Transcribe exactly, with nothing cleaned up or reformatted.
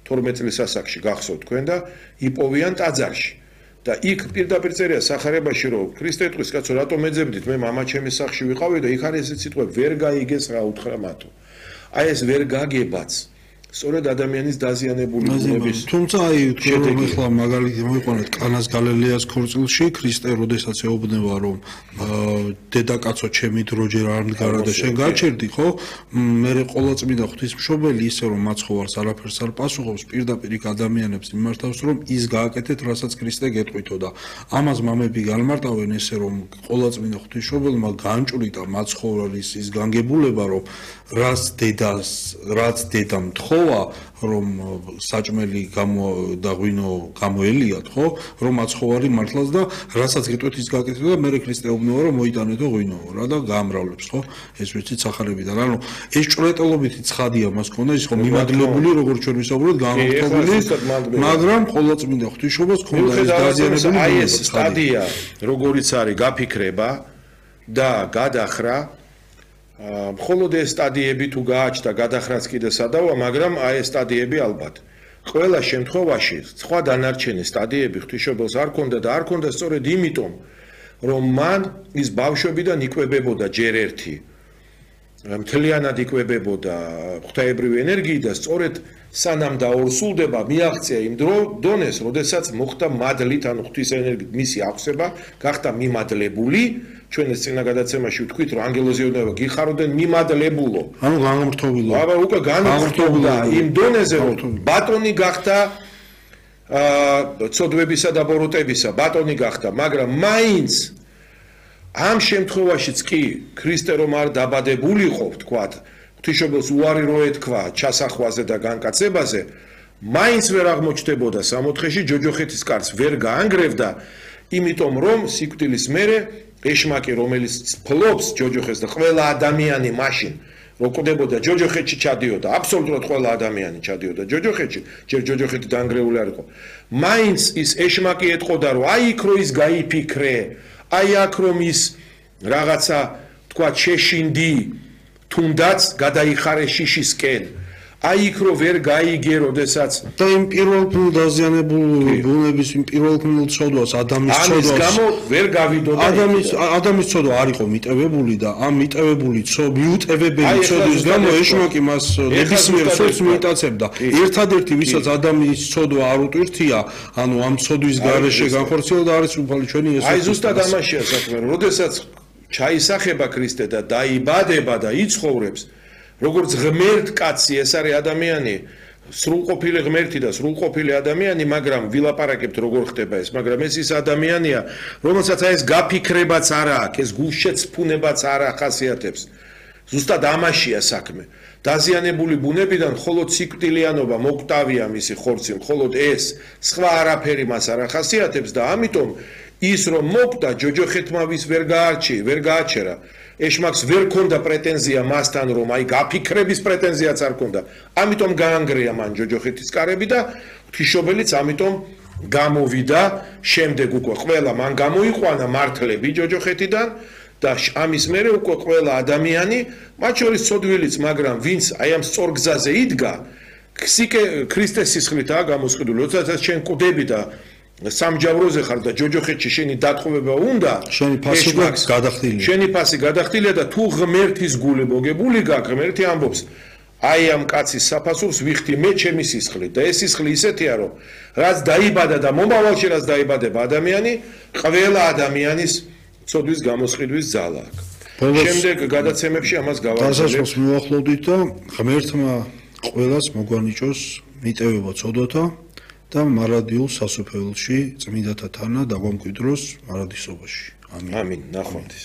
თორმეტ წლის ასაკში გახსოვთ თქვენ და იპოვიან ტაძარში. და იქ პირდაპირ წერია სახარებაში რომ ქრისტე ტყვის კაცო რატომ ეძებდით მე მამა ჩემის სახში ვიყავი და იქ არის ესეთი სიტყვა ვერ გაიგეს რა უთხრა მათო. აი ეს ვერ გაგებაც სწორედ ადამიანის დაზიანებული ბუნების თუმცა აი თქვენ რომ ახლა მაგალითი მოიყვანეთ კანას გალილეას ქორწილში ქრისტე როდესაც ეუბნება რომ დედაკაცო ჩემი დრო ჯერ არ მდგარა და შენ გაჩერდი ხო მე ყოვლადწმინდა ღვთისმშობელი ისე რომ მაცხოვარს არაფერს არ პასუხობს პირდაპირ იქ ადამიანებს იმართავს რომ ის გააკეთეთ რასაც ქრისტე გეტყვითო და ამას მამები განმარტავენ ესე რომ ყოვლადწმინდა ღვთისმშობელმა განჭვრიტა მაცხოვრის ის განგებულება რომ რაც დედას რაც დედამ თხოვა რომ საჭმელი გამო და ღვინო გამოელიათ ხო რომ მაცხოვარი მართლაც და რასაც გეტყვით ის გააკეთებდა და მე ქრისტე უბნება რომ მოიტანეთო ღვინო რა და გაამრავლებს ხო ეს ვიცით სახარებიდან ანუ ეს ჭრეტელობითი ცხადია მას ქონდა ის ხო მიმადლებული როგორც ჩვენ ვისაუბრეთ გამორთული მაგრამ ყოვლადწმინდა ღვთისმშობელს ქონდა ეს დაზიანებული აი ეს სტადია როგორიც არის გაფიქრება და გადახრა მხოლოდ ეს სტადიები თუ გააჩნდა გადახრაც კიდე სადავა მაგრამ აი ეს სტადიები ალბათ ყველა შემთხვევაში სხვა დანარჩენი სტადიები ღვთისმშობელს არ ქონდა და არ ქონდა სწორედ იმიტომ რომ მან ის ბავშვებიდან იკვებებოდა ჯერ ერთი მთლიანად იკვებებოდა ღვთაებრივი ენერგიით და სწორედ სანამ დაორსულდება მიაღწია იმ დონეს როდესაც მოხდა მადლით ანუ ღვთის ენერგიით მისი აღსება გახდა მიმადლებული ჩვენ ეს წინა გადაცემაში ვთქვით რომ ანგელოზი უნდა გიხაროდნენ მიმადლებულო ანუ განმრთობილო აბა უკვე განმრთობდა იმ დონეზე რომ ბატონი გახდა აა ცოდვებისა და ბოროტებისა ბატონი გახდა მაგრამ მაინც ამ შემთხვევაშიც კი ქრისტე რომ არ დაბადებულიყო ვთქვათ ღვთისმშობელს უარი რო ეთქვა ჩასახვაზე და განკაცებაზე მაინც ვერ აღმოჩნდებოდა სამოთხეში ჯოჯოხეთის კარს ვერ გაანგრევდა იმიტომ რომ სიკვდილის მერე ეშმაკი რომელიც ფლობს ჯოჯოხეთს და ყველა ადამიანი მაშინ რო კვდებოდა ჯოჯოხეთში ჩადიოდა აბსოლუტურად ყველა ადამიანი ჩადიოდა ჯოჯოხეთში ჯერ ჯოჯოხეთი დაანგრეული არ იყო მაინც ის ეშმაკი ეთყოდა რომ აი იქ რო ის გაიფიქრე აი აქ რომ ის რაღაცა თქვა შეშინდი თუნდაც გადაიხარე შიშისკენ აი იქ რო ვერ გაიგე როდესაც და იმ პირველ დაზიანებულ ბუნების იმ პირველ ცოდვას ადამიანის ცოდვას ამის გამო ვერ გავიდოდა ადამიანის ადამიანის ცოდვა არ იყო მიტევებული და ამ მიტევებული მიუტევებელი ცოდვის გამო ეშმაკი მას ნებისმიერ სულს მიიტაცებდა ერთადერთი ვისაც ადამიანის ცოდვა არ უტვირთია ანუ ამ ცოდვის გარეშე განხორციელდა არის უფალი ჩვენი ეს აი ზუსტად ამაშია საქმე რომ როდესაც ჩაისახება ქრისტე და დაიბადება და იცხოვრებს როგორც ღმერთ კაცი ეს არის ადამიანი სრულყოფილი ღმერთი და სრულყოფილი ადამიანი მაგრამ ვილაპარაკებთ როგორ ხდება ეს მაგრამ ეს ის ადამიანია რომელსაც აი ეს გაფიქრებაც არ აქვს ეს გულშეცფუნებაც არ ახასიათებს ზუსტად ამაშია საქმე დაზიანებული ბუნებიდან მხოლოდ სიკვდილიანობა მოკვდავია მისი ხორცი მხოლოდ ეს სხვა არაფერი მას არ ახასიათებს და ამიტომ ის რომ მოკვდა ჯოჯოხეთმა ვის ვერ გაარჩი ვერ გააჩერა ეშმაკს ვერ ქონდა პრეტენზია მასთან რომ აი გაფიქრების პრეტენზიაც არ ქონდა ამიტომ გაანგრია მან ჯოჯოხეთის კარები და ღვთისმშობელიც ამიტომ გამოვიდა შემდეგ უკვე ყველა მან გამოიყვანა მართლები ჯოჯოხეთიდან და ამის მერე უკვე ყველა ადამიანი მათ შორის ცოდვილიც მაგრამ ვინც აი ამ სწორ გზაზე იდგა ქრისტეს სისხლითაა გამოსყიდული როდესაც შენ კვდები და სამჯავროზე ხარ და ჯოჯოხეთში შენი დათხოვება უნდა შენი ფასი გადახდილია შენი ფასი გადახდილია და თუ ღმერთის გული მოგებული გაქვს ღმერთი ამბობს აი ამ კაცის საფასურს ვიხდი მე ჩემი სისხლით და ეს სისხლი ისეთია რომ რაც დაიბადა და მომავალში რაც დაიბადება ადამიანი ყველა ადამიანის ცოდვის გამოსყიდვის ძალა აქვს შემდეგ გადაცემებში ამას გავაგზავნებთ დასაწყოს მივახლოვდით და ღმერთმა ყველას მოგვანიჭოს მიტევება ცოდვათა და მარადიულ სასופველში წმინდათა თანა დაგვამკვიდროს მარადისობაში. ამინ. ამინ. ნახვამდის.